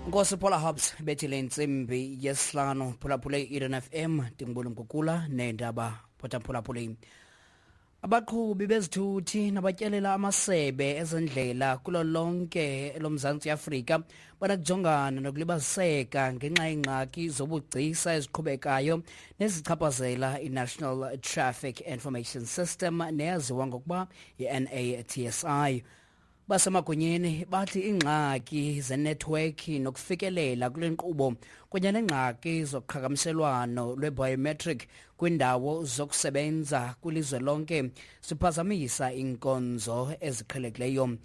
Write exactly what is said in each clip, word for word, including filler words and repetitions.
Nkosi Paula Hobbs bethile intsimbi yesihlanu. Phulaphule i-Eden F M, ndingubona Mgugula neendaba. Phulaphule. Abaqhubi bezithuthi nabatyelela amasebe ezendlela kulo lonke loMzantsi Afrika banakujongana nokulibaziseka ngenxa yeengxaki zobugcisa eziqhubekayo nezichaphazela i-National Traffic Information System neyaziwa ngokuba yi-N A T S I. Basemagunyeni bathi iingxaki zenethiwekhi nokufikelela kule nkqubo kunye neengxaki zoqhagamshelwano lwe-biometric kwiindawo zokusebenza kwilizwe lonke ziphazamisa iinkonzo eziqhelekileyo.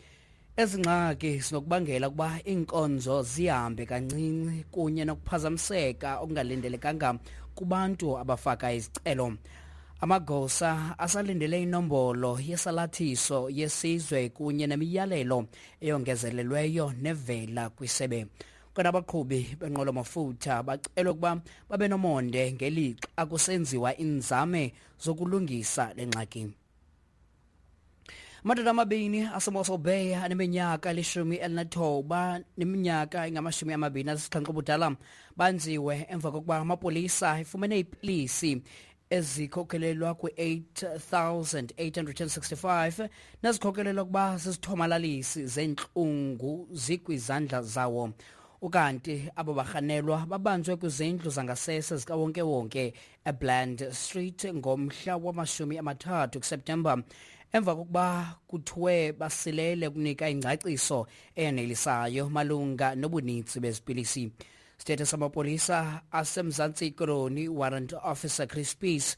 Ezi ngxaki zinokubangela ukuba iinkonzo zihambe kancinci kunye nokuphazamiseka okungalindelekanga kubantu abafaka izicelo. Amagosa asalindele inombolo yesalathiso yesizwe kunye nemiyalelo eyongezelelweyo nevela kwisebe. Kodwa abaqhubi benqwelo-mafutha bacelwe ukuba babe nomonde ngelixa kusenziwa iinzame zokulungisa le ngxaki. Amadoda amabini aseMossel Bay aneminyaka elishumi elinethoba neminyaka engamashumi amabini asixhenxe ubudala banziwe emva kokuba amapolisa efumene iipilisi ezikhokelelwa kwi-eight thousand eight hundred and sixty-five nezikhokelelwa ukuba zizithomalalisi zentlungu zikwizandla zawo. Ukanti abo barhanelwa babanjwe kwizindlu zangasese zikawonkewonke eBland Street ngomhla wamashumi amathathu kuSeptemba emva kokuba kuthiwe basilele ukunika ingcaciso eyanelisayo malunga nobuninzi bezipilisi. Sithethe samapolisa aseMzantsi Koloni Warrant Officer Chris Peace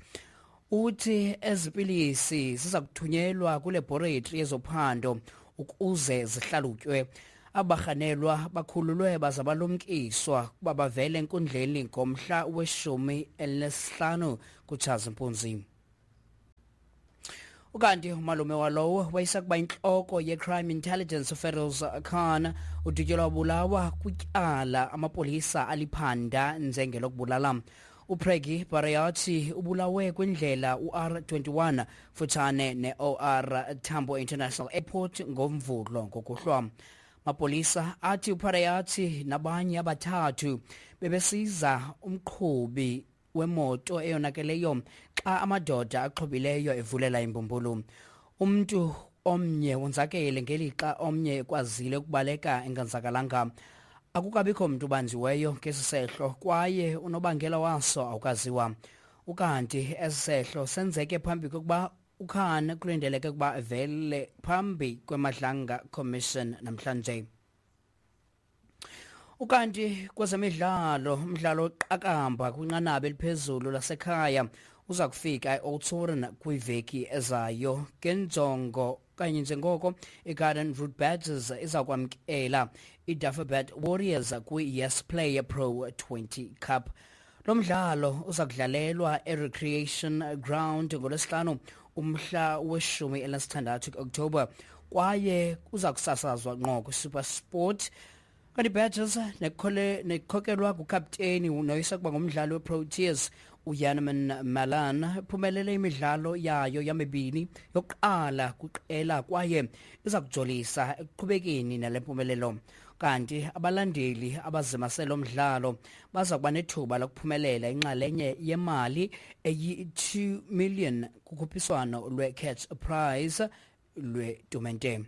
uthi ezipilisi ziza kuthunyelwa kwilaboratory yezophando ukuze zihlalutywe. Abarhanelwa bakhululwe baza balumkiswa ukuba bavele enkundleni ngomhla weshumi elinesihlanu kuTshazimpunzi. Ukanti umalume walowo wayesakuba intloko ye-Crime Intelligence Feroz Khan udutyelwa wabulawa kwityala amapolisa aliphanda njengelokubulala. UPreggy Barayati ubulawe kwindlela U R twenty-one futshane ne-O R Tambo International Airport ngoMvulo ngokuhlwa. Mapolisa athi uParayati nabanye abathathu bebesiza umqhubi wemoto eyonakeleyo xa amadoda axhobileyo evulela imbumbulu. Umntu omnye wonzakele ngelixa omnye ekwazile ukubaleka enganzakalanga. Akukabikho mntu ubanjiweyo ngesi sehlo kwaye unobangela waso awukaziwa. Ukanti esi sehlo senzeke phambi kokuba uKhan kulindeleke ukuba avele phambi kweMadlanga Commission namhlanje. Ukanti kwezemidlalo, umdlalo oqakamba kwinqanaba eliphezulu lasekhaya uza kufika e-Oudtshoorn kwiveki ezayo ngenjongo kanye njengoko iGarden Route Badgers iza kwamkela iDafferbet Warriors kwi-Yes Player Pro twenty Cup. Lo mdlalo uza kudlalelwa e-Recreation Ground ngoLwesihlanu umhla weshumi elinesithandathu ku-Oktoba kwaye uza kusasazwa ngqo kwiSuperSport. Kanti Badgers nekhokelwa ngukapteni noyisakuba ngumdlali weProteas uJaneman Malan phumelele imidlalo yayo yamibini yokuqala kwiqela kwaye iza kujolisa ekuqhubekeni nale mpumelelo. Kanti abalandeli abazimasele umdlalo baza kuba nethuba lokuphumelela inxalenye yemali eyi-two million kukhuphiswano lwe-Catch Prize lwetumente.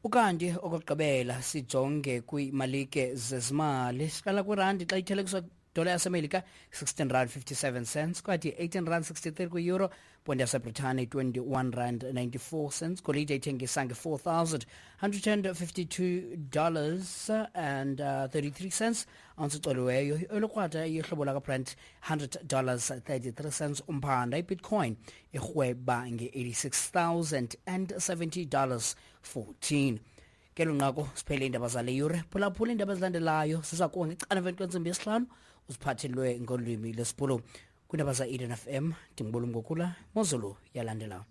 Ukanti okokugqibela sijonge kwiimalike zezimali. Siqala kwirandi xa ithelekiswa dola yaseMelika sixteen rand fifty-seven cents, kwathi eighteen rand sixty-three kwi-euro, ponde yaseBritane twenty-one rand ninety-four cents, golide ithengisa nge-four thousand hundred and fifty-two dollars and thirty-three cents, ounce icoliweyo olukrwada yohlobo lakaBrent hundred dollars thirty-three cents, umphanda iBitcoin irhweba nge-eighty-six thousand and seventy dollars fourteen. Ngelo nqaku siphele iindaba zale yure. Phulaphula iindaba ezilandelayo ziza kuwa ngecala emveni kwentsimbi yesihlanu uziphathelwe ngolwimi lwesiBhulu. Kwiindaba za-Eden F M ndingubula Mgugula, Mozulu yalandela.